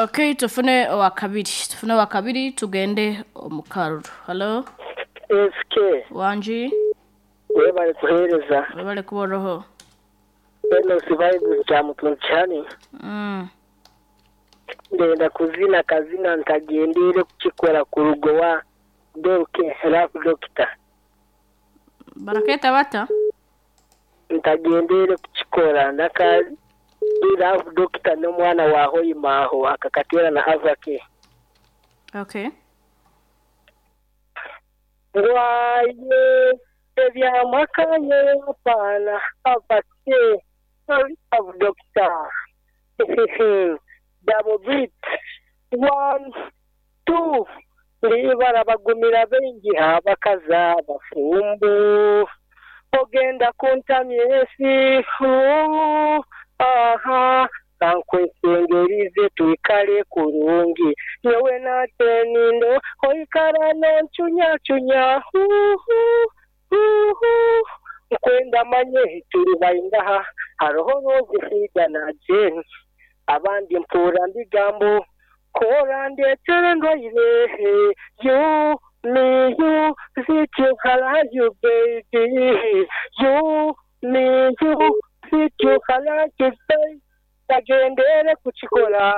Okay, tufune owakabiri, tufune owakabiri tugende omu karuru. Hallo? SK. Wangi? Webale kuhereza. Webale kuba oroho. Enos Vibes Kyamutungi. Ndenda kuzina kazina ntagendeire kukikora kuruga owa Dorke Love Doctor. Baraketa bata? Ntagendeire kukikora naka Love Doctor n'omwana wa Hoima aho akakateera na Avake. Okay. Ngwaye ebyamakaye hapana Avake Love Doctor. Double beat. 1 2 Libara bagumira baingi abakazi abafumbo ogenda kuntamya ensi aha kankwesengerize twikale kurungi nyowe natenindo oikara nonchunyachunya nkwenda manye turi baingaha hariho rozifida na Jane abandi mpura mbigambo kora ndetere ndwaire you me you sit you hala you baby you me you sit you hala you baby tagendere kukikora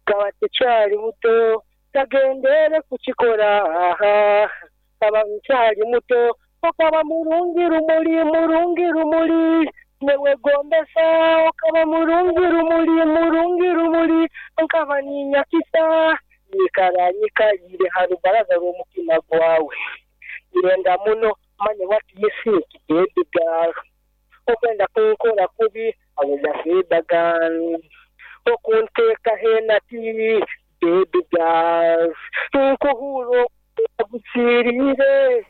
kaba tekyali muto tagendere kukikora kaba nkyali muto okaba murungi rumuli murungi rumuli newegombesa okaba murungi rumuli murungi rumuli nkaba ninyakisa nyikara nyikalire ha rubaraza rw'omutima gwawe irenda muno manye what you think baby girl okwenda kunkora kubi awudafidagan okunteeka henati baby girl nkuhuro agusirire.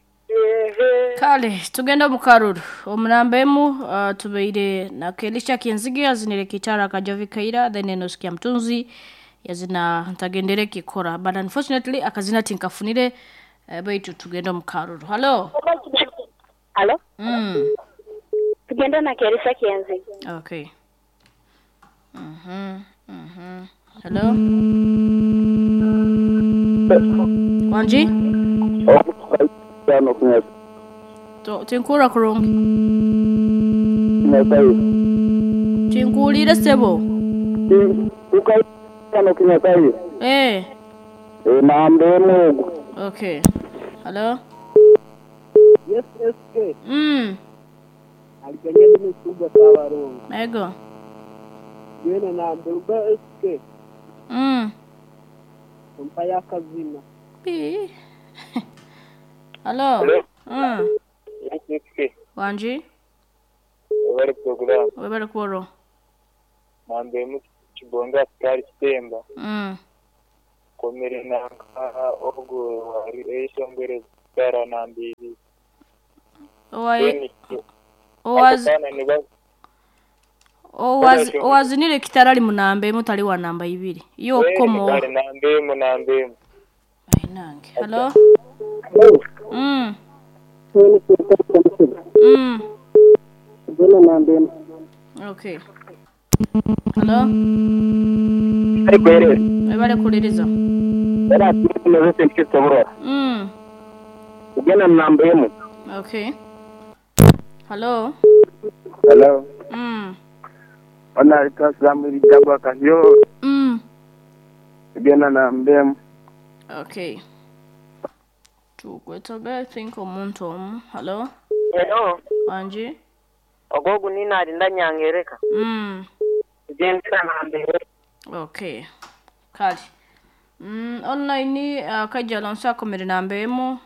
Kale tugenda mu karuru omunambemu tubeire na Kelisha Kyenzige azinire kitara Kajovi Kaira then Enos Mtunzi yazina ntagendere kikora but unfortunately akazina tinkafunire baitu tugenda mu karuru. Hello. Hello. Tugenda na Kelisha Kyenzige. Okay. Hello. Wanji? Tinkura kurungi. Tinkulire sebo. Eh. Okay. Hello. Yes, SK. Aliganya n'isubwa kabarongo. Ego. Yena na Mberuga SK. Mpa yakazina. Bi. Hello. Hello. SK. Wanji? Webale program. Webale kuoro. Mambe mu kibonga kali kitemba. Komere nanka ogo wari eshongere tara nambiri. Owaye. Owazinire kitarali munambe mutali wa namba ibiri. Iyo komo. Nambe munambe. Ainange. Hello. Okay. Hello. Webale kuliriza. Okay. Hello. Hello. Ona itasamiri jagwa kanyo. Gena nambemu. Okay. Tukwetobe think omuntu omu. Hello. Hello. Wanji? Ogogu nina alinda nyangereka. Genda nambere. Okay. Kali. Online kajja Alonso akomere nambemu.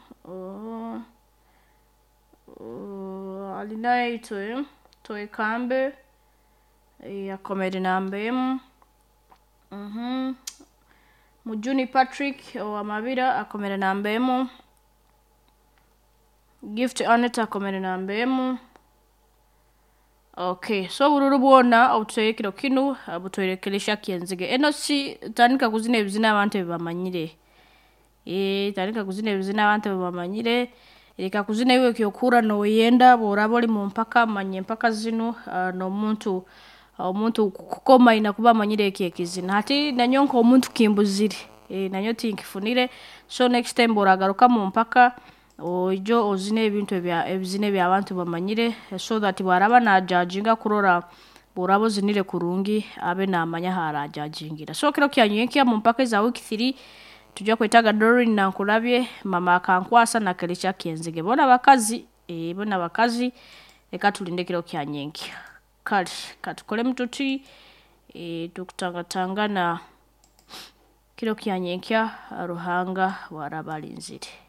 Alina itoe toe kambe akomere nambemu. Mujuni Patrick wa Mabira akomere nambemu. Gift Aneta akomere nambemu. Okay, so bururu bwona obutwekero kinu butwerekeresha Kyenzige. Enosi tandika kuzina ebizina abantu bebamanyire. Tandika kuzina ebizina abantu bebamanyire. Reka kuzina iwe kyokura no yenda boraba oli mu mpaka manye mpaka zino no muntu Omuntu kukoma aina kuba amanyire eki ekizina. Hati nanyowe nk'omuntu kimbuzire. Nanyowe tinkifunire. So next time bw'oragaruka mu mpaka oije ozine ebintu ebya ebizina eby'abantu bamanyire so that bwaraba najajinga kurora bw'oraba ozinire kurungi abe namanya aharajajingira. So kiro kya nyenkya mu mpaka eza week 3 tujja kwetaga Doreen Nankulabye, Mama Akankwasa na Kelisha Kenzige. Bona bakazi, bona bakazi reka tulinde kiro kya nyenkya. Kale katukolemu tuti tukutangatangana kiro kya nyenkya Ruhanga bwaraba alinzire.